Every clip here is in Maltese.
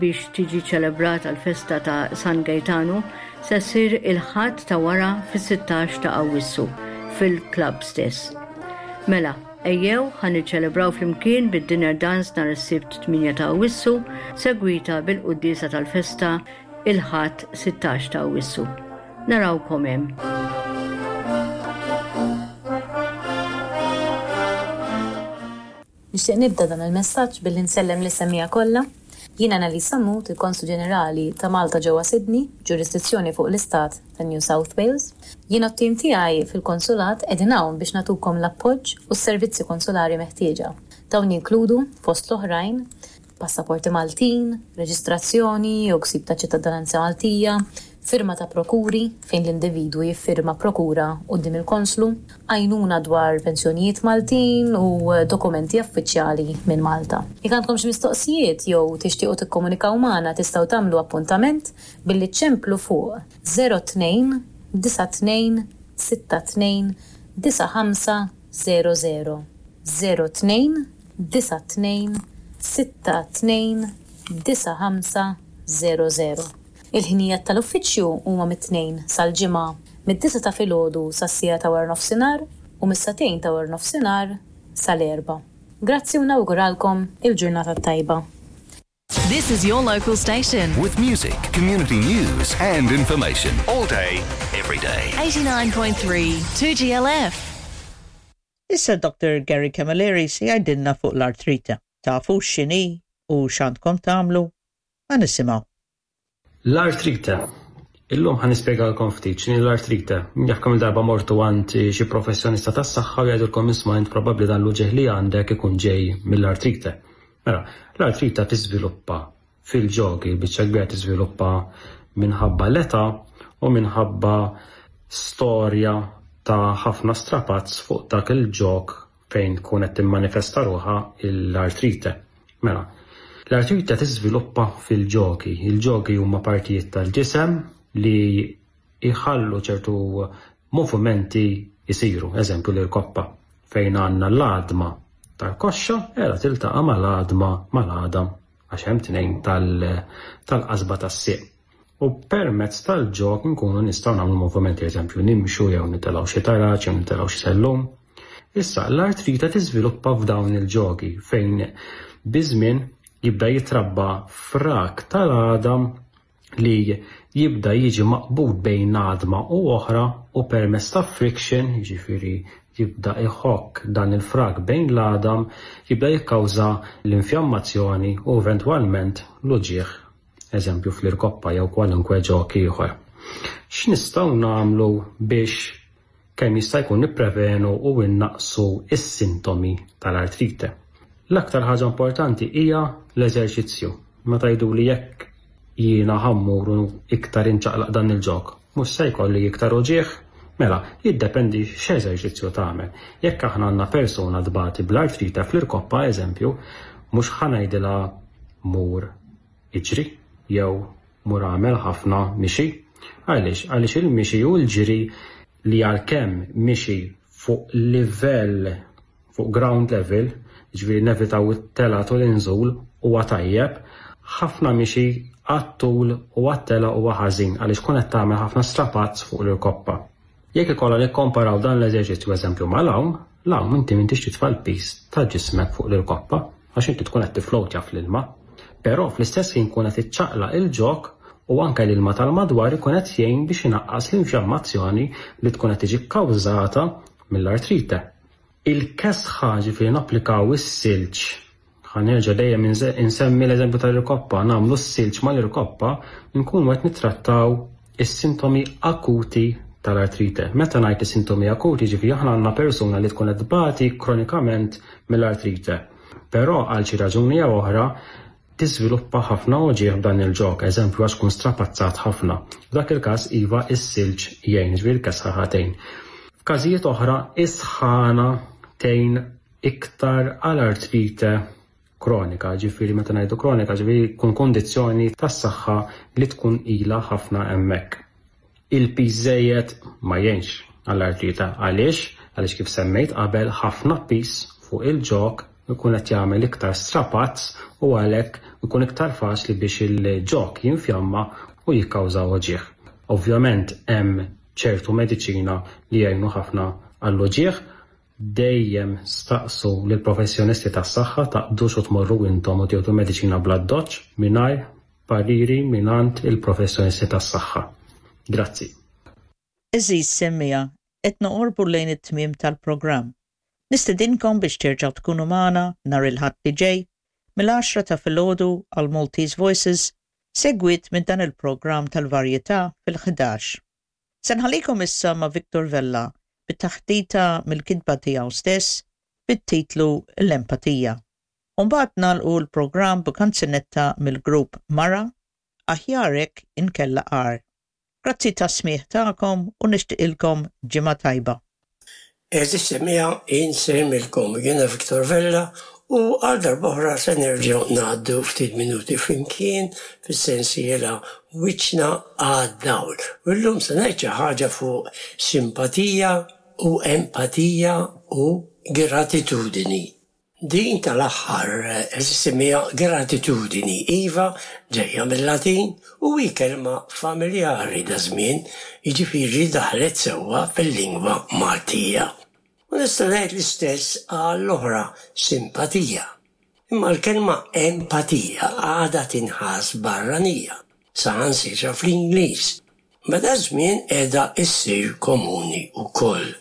Biex tiġi ċelebrata l-festa ta' San Gejtanu se ssir il-Ħadd ta' wara fis-16 ta' Awwissu fil-klabb stess. Mela, ejjew ħa niċċelebraw flimkien bid-dinner dance nhar is-Sibt 8 ta' Awwissu segwita bil-quddiesa tal-festa il-Ħadd 16 ta' Awwissu. Narawkom hemm. Nixtieq nibda dan il-messaġġ billi nsellem lis-semmiegħa kollha. Jien Annalise Sammut, il-Konslu Ġenerali ta' Malta ġewwa Sydney, b'ġurisdizzjoni fuq l-Istat ta' New South Wales. Jien u t-tim tiegħi fil-Konsulat qegħdin hawn biex nagħtukom l-appoġġ u s-servizzi konsulari meħtieġa. Dawn jinkludu, fost l-oħrajn, passaporti Maltin, reġistrazzjoni jew ksib ta' ċittadinanza Maltija, firma ta' prokuri, fejn l-individwu jiffirma prokura quddiem il-konslu, għajnuna dwar pensjonijiet Maltin u dokumenti affiċjali minn Malta. Jekk għandkom xi mistoqsijiet jew tixtiequ tikkomunikaw magħna tistgħu tagħmlu appuntament billi ċċemplu fuq 02 92 62 95 00 02 92 62 95 00. Il-ħinijiet tal-uffiċċju huma mit-Tnejn sal-Ġimgħa mid-disgħa ta' filgħodu sas-siegħa ta' waranofsinhar u mis-sagħtejn ta' waranofsinhar sal-erbgħa. Grazzi u nawguralkom il-ġurnata t-tajba. This is your local station. With music, community news, and information all day, every day. 89.3 2GLF. Issa Dr. Gary Camilleri se jgħidilna fuq l-artrite. Tafu x'inhi u x'għandkom tagħmlu? Ħa nisimgħu. L-artrite. Illum ħa nispjegalkom ftit x'inhi l-artrite. Min jaf kemm-il darba mortu għand xi professjonista tas-saħħa u jgħidulkom isma' int probabbli dan l-uġigħ li għandek ikun ġej mill-artrite. Mela, l-artrite tiżviluppa fil-ġogi, il-biċċa kbira tiżviluppa minħabba l-età u minħabba storja ta' ħafna strapazz fuq dak il-ġog fejn tkun qed timmanifesta ruħha l-artrite. Mela, l-artrite tiżviluppa fil-ġogi. Il-ġogi huma partijiet tal-ġisem li jħallu ċertu movimenti jsiru, eżempju l-irkoppa, fejn għandna l-għadma tal-koxxa qiegħda tiltaqa' mal-għadma mal-għadam għax hemm tnejn tal-qasba tas-sieq. U permezz tal-ġog nkunu nistgħu nagħmlu movimenti, eżempju nimxu jew nitilgħu xi taraġ jew nitilgħu xi sellum. Issa, l-artrite tiżviluppa f'dawn il-ġogi fejn biż-żmien jibda jitrabba frak tal-għadam li jibda jiġi maqbud bejn għadma u oħra u permezz ta' friction, jiġifieri jibda jħokk dan il-frak bejn l-għadam, jibda jikkawża l-infjammazzjoni u eventwalment l-uġigħ, eżempju fl-irkoppa jew kwalunkwe ġog ieħor. X'nistgħu nagħmlu biex kemm jista' jkun nipprevenu u nnaqqsu s-sintomi tal-artrite. L-aktar ħaġa importanti hija l-eżerċizzju. Meta jgħiduli jekk jiena ħa mmur u iktar inċaqlaq dan il-ġog, mhux se jkolli iktar uġigħ? Mela, jiddependi x'eżerċizzju tagħmel. Jekk aħna għandna persuna tbati bl-artrite fl-irkoppa eżempju, mhux ħa ngħidilha mur iġri jew mur agħmel ħafna mixi. Għaliex? Għaliex il-mixi u l-ġiri li għalkemm mixi fuq livell fuq ground level, jiġifieri nevitaw it-telgħat u l-inżul huwa tajjeb, ħafna mixi għat-tul u għat-telgħa huwa ħażin għaliex tkun qed tagħmel ħafna strapazz fuq l-irkoppa. Jekk ikollna nikkomparaw dan l-eżerċizzju eżempju mal-għawm, l-għawm inti m'intix titfa' l-piż ta' ġismek fuq l-irkoppa għax inti tkun qed tifflowtja fl-ilma. Però fl-istess ħin tkun qed iċċaqlaq il-ġog u anke l-ilma tal-madwar ikun qed jgħin biex inaqqas l-infjammazzjoni li tkun qed tiġi kkawżata mill-artrite. Il-kesħa, ġifieri napplikaw is-silġ Ħa nerġa' dejjem insemmi l-eżempju tal-irkoppa, nagħmlu s-silġ mal-irkoppa, nkunu qed nittrattaw is-sintomi akuti tal-artrite. Meta ngħid is-sintomi akuti, ġifieri aħna għandna persuna li tkun qed tbati kronikament mill-artrite. Però għal xi raġuni jew oħra tiżviluppa ħafna uġigħ b'dan il-ġog, eżempju għax tkun strapazzat ħafna. F'dak il-każ iva s-silġ jgħin, ġifieri l-kesħa ħa tgħin. F'każijiet oħra is-sħana tgħin iktar għal artrite kronika, ġifieri meta ngħidu kronika ġifieri tkun kundizzjoni tas-saħħa li tkun ilha ħafna hemmhekk. Il-piż żejjed ma jgħinx għall-artrite. Għaliex? Għaliex kif semmejt qabel ħafna piż fuq il-ġog. Ikun qed jagħmel iktar strapazz u għalhekk ikun iktar faċli biex il-ġog jinfjamma u jikkawża uġigħ. Ovvjament hemm ċertu mediċina li jgħinu ħafna għall-uġigħ. Dejjem staqsu lill-professjonisti tas-saħħa, taqbdux u tmorru intom u tieħdu mediċina bl-addoċċ mingħajr pariri mingħand il-professjonisti tas-saħħa. Grazzi. Għeżież semmiegħa, qed noqorbu lejn it-tmiem tal-programm. Nistedinkom biex terġgħu tkunu magħna nhar il-Ħadd li ġej, mill-għaxra ta' filgħodu għal Maltese Voices, segwit minn dan il-programm tal-varjetà fil-ħdax. Se nħallikom issa ma' Victor Vella bit-taħdita mill-kitba tiegħu stess bit-titlu L-Empatija. U mbagħad nagħlqu l-programm b'kanzunetta mill-grupp Mara, Aħjar hekk inkella agħar. Grazzi tas-smigħ tagħkom u nixtiqilkom ġimgħa tajba. Għeżież semmiegħa, insellmilkom. Jiena Victor Vella u għal darb'oħra se nerġgħu ngħaddu ftit minuti flimkien fis-sensiela Wiċċna għad-Dawl. U llum se ngħid xi ħaġa fuq simpatija u empatija u gratitudini. Din tal-aħħar issemmiha gratitudini, iva, ġejja mil-Latin u hi kelma familjari daż-żmien, jiġifieri daħlet sewwa fil-lingwa Maltija. U nista' ngħid l-istess għall-oħra, simpatija. Imma l-kelma empatija għadha tinħass barranija, saħansitra fl-Ingliż, ma daż-żmien qiegħda ssir komuni wkoll.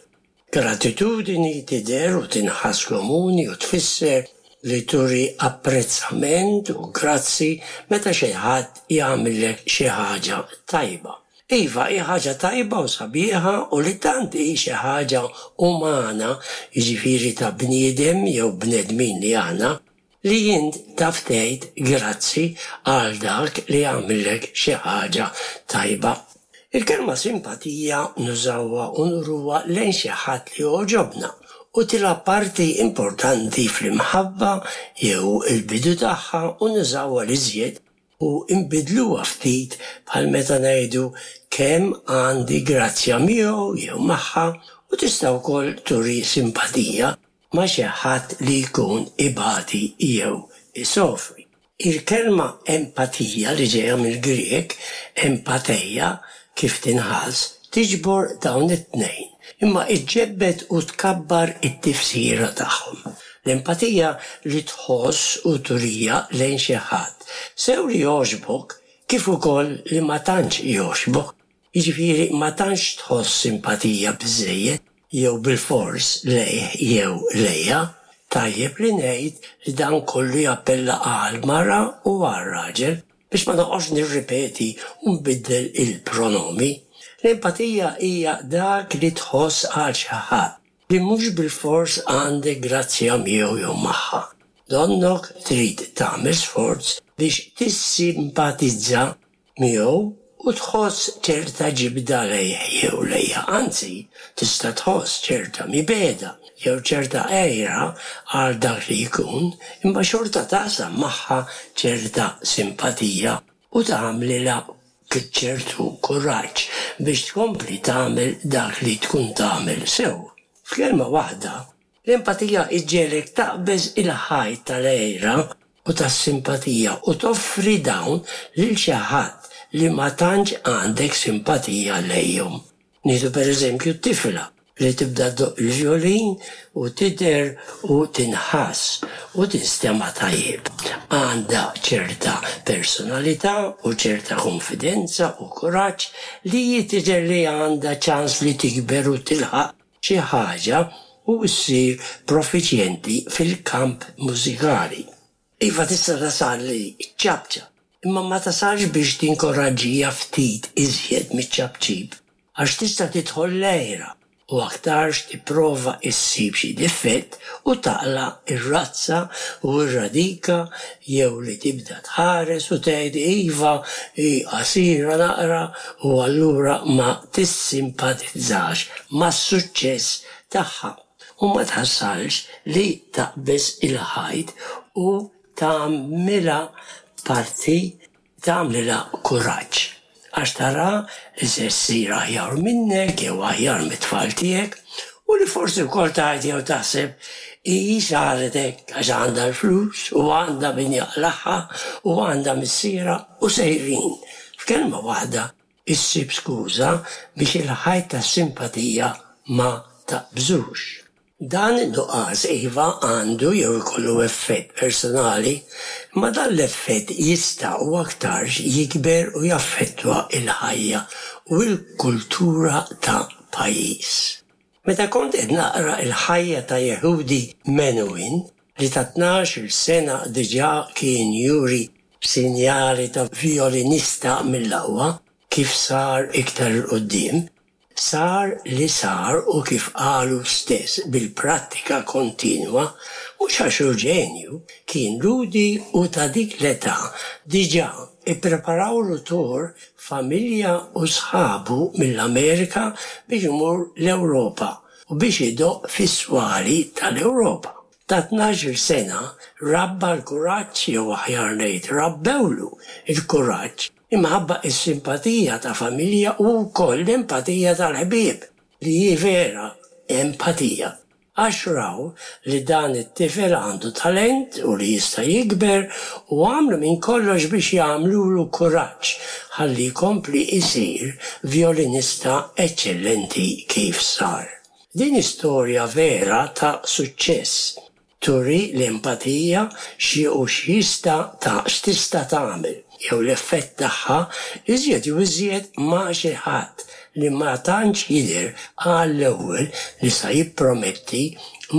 Gratitudini tidher u tinħass komuni u tfisser li turi apprezzament u grazzi meta xi ħadd jagħmillek xi ħaġa tajba. Iva, hi ħaġa tajba u sabiħa u li tant hi xi ħaġa umana, jiġifieri ta' bniedem jew bnedmin li aħna, li int taf tgħid grazzi għal dak li għamillek xi ħaġa tajba. Il-kelma simpatija nużawha u nuruha lejn xi ħadd li jogħġobna u tilgħab parti importanti fl-imħabba jew il-bidu tagħha u nużawha l-iżjed u nbiddluha ftit bħal meta ngħidu kemm għandi grazzja miegħu jew magħha u tista' wkoll turi simpatija ma' xi ħadd li jkun ibati jew isofri. Il-kelma empatija li ġejja mill-Grieg empatheia kif tinħass, tiġbor dawn it-tnejn, imma iġġebbed u tkabbar it-tifsira tagħhom. L-empatija li tħoss u turiha lejn xi ħadd, sew li jogħġbok kif ukoll li ma tantx jogħġbok, jiġifieri ma tantx tħoss simpatija biżżejjed jew bilfors lejh jew lejha. Tajjeb li ngħid li dan kollu jappella għall-mara u għar-raġel, biex ma noqgħodx nirripeti u nbiddel il-pronomi. L-empatija hija dak li tħoss għal xi ħadd li mhux bilfors għandek grazzja miegħu jew magħha. Donnok trid tagħmel sforz biex tissimpatizza miegħu u tħoss ċerta ġibda lejh jew lejha, anzi, tista' tħoss ċerta mibegħda jew ċerta għira għal dak li jkun, imma xorta taqsam magħha ċerta simpatija u tagħmlilha ċertu kuraġġ biex tkompli tagħmel dak li tkun tagħmel sew. F'kelma waħda, l-empatija ġġegħlek taqbeż il-ħajt tal-għira u tas-simpatija u toffri dawn lil xi ħadd li ma tantx għandek simpatija lejhom. Nieħdu pereżempju tifla li tibda ddoqq il-vjolin u tidher u tinħass u tinstema' tajjeb. Għandha ċerta personalità u ċerta kunfidenza u kuraġġ li hi tidher li għandha ċans li tikber u tilħaq xi ħaġa u ssir profiċjenti fil-kamp mużikali. Iva tista' tasal li ċċapċap, imma ma tasalx biex tinkoraġġiha ftit iżjed miċ-ċapċip, għax tista' tidħol l-għira u aktarx tipprova ssib xi difett u taqla' r-razza u r-radika jew li tibda tħares u tgħid iva hi qasira naqra u allura ma tissimpatizzax mas-suċċess tagħha u ma tasalx li taqbeż il-ħajt u tagħmilha parti tagħmlilha kuraġġ għax tara li se ssir aħjar minnek jew aħjar mit-tfal tiegħek. U li forsi wkoll tgħid jew taħseb hi saret hekk għax għandha l-flus u għandha min jaqlagħha u għandha missierha u sejrin. F'kelma waħda issib skuża biex il-ħajt tas-simpatija ma taqbżux. Dan in-nuqqas iva għandu jew ikollu effett personali, imma dan l-effett jista' u aktarx jikber u jaffettwa l-ħajja u l-kultura ta' pajjiż. Meta kont qed naqra l-ħajja ta' Yehudi Menuhin, li ta' tnax-il sena diġà kien juri sinjali ta' vjolinista mill-aqwa, kif sar iktar 'il quddiem, Sar li sar u kif qal hu stess bil-prattika kontinwa, mhux għax hu ġenju, kien Lhudi u ta' dik l-età diġà ippreparawlu tour familja u sħabu mill-Amerika biex imur l-Ewropa u biex idoqq fis-swali tal-Ewropa. Ta' tnax-il sena rabba l-kuraġġ jew aħjar ngħid rabbewlu l-kuraġġ imħabba s-simpatija ta' familja u wkoll l-empatija tal-ħbieb, li hi vera empatija, għax raw li dan it-tifel għandu talent u li jista' jikber u għamlu minn kollox biex jagħmlulu kuraġġ ħalli jkompli jsir vjolinista eċċellenti kif sar. Din hi storja vera ta' suċċess. Turi l-empatija xi u x'jista' ta' x'tista' tagħmel, jew l-effett tagħha, iżjed jew iżjed ma' xi ħadd li ma tantx jidher għall-ewwel li sa jipprometti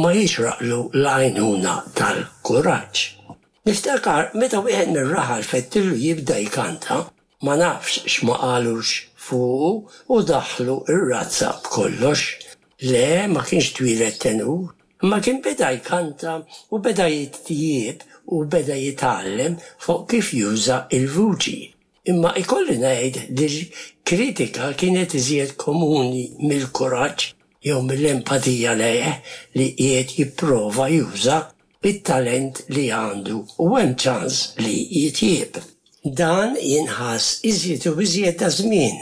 ma jixraqlu l-għajnuna tal-kuraġġ. Niftakar meta wieħed mir-raħal fettillu jibda jkanta, Ma nafx x'ma qalux fuqu u daħħlu r-razza b'kollox. Le, ma kienx twieled tenur, imma kien beda jkanta u beda jitjieb u beda jitgħallem fuq kif juża l-vuċi. Imma ikolli ngħid li l-kritika kienet iżjed komuni mill-kuraġġ jew mill-empatija lejh li qiegħed jipprova juża it-talent li għandu u hemm ċans li jitjieb. Dan jinħass iżjed u iżjed daż-żmien,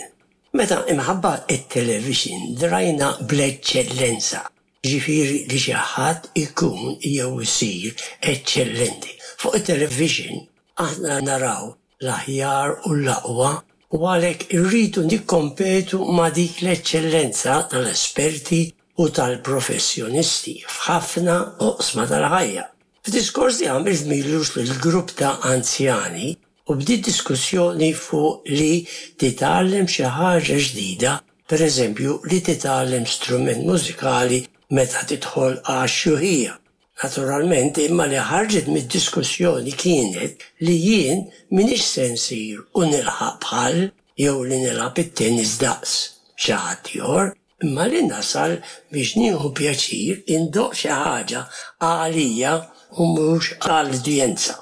meta imħabba t-televixin drajna bl-eċċellenza, jiġifieri li xi ħadd ikun jew isir eċċellenti. Fuq it-televixin aħna naraw l-aħjar u l-aqwa u għalhekk irridu nikkompetu ma' dik l-eċċellenza tal-esperti u tal-professjonisti f'ħafna oqsma tal-ħajja. F'diskors li għamilt m'ilux lil grupp ta' anzjani u bdiet diskussjoni fuq li titgħallem xi ħaġa ġdida, pereżempju li titgħallem strument mużikali meta tidħol għax-xjuħija. Naturalment, imma li ħarġet mid-diskussjoni kienet li jien m'iniex se nsir u nilħaq bħal jew li nilgħab it-tennis daqs xi ħadd ieħor, imma li nasal biex nieħu pjaċir indoqq xi ħaġa għalija u mhux għall-udjenza.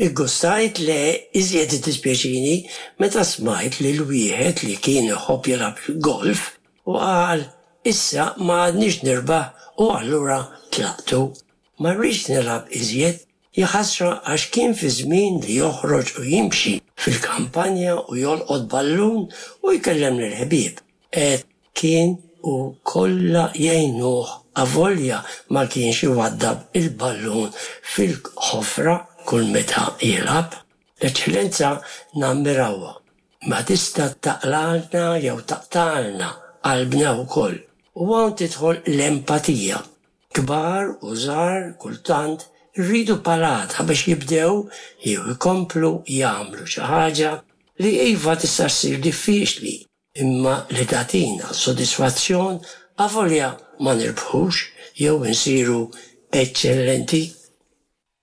Iggustajt le iżjed iddispjaċini meta smajt lil wieħed li kien iħobb jilgħab il-golf u qal Issa ma għadnix nirbaħ u allura tlaqtu. Ma rridx nilgħab iżjed. Jaħasra għax kien fi żmien li joħroġ u jimxi fil-kampanja u jolqot ballun u jkellem lill-ħbieb. Għedt kien u kollha jgħinuh avolja ma kienx iwaddab il-ballun fil-ħofra kull meta jilgħab. L-eċċellenza nammirawha. Ma tista' taqlagħlna jew taqtagħlna qalbna wkoll. U hawn tidħol l-empatija. Kbar u żgħar kultant irridu palata biex jibdew jew ikomplu jagħmlu xi ħaġa li iva tista' ssir diffiċli imma li tagħtina sodisfazzjon avolja ma nirbħux jew insiru eċċellenti.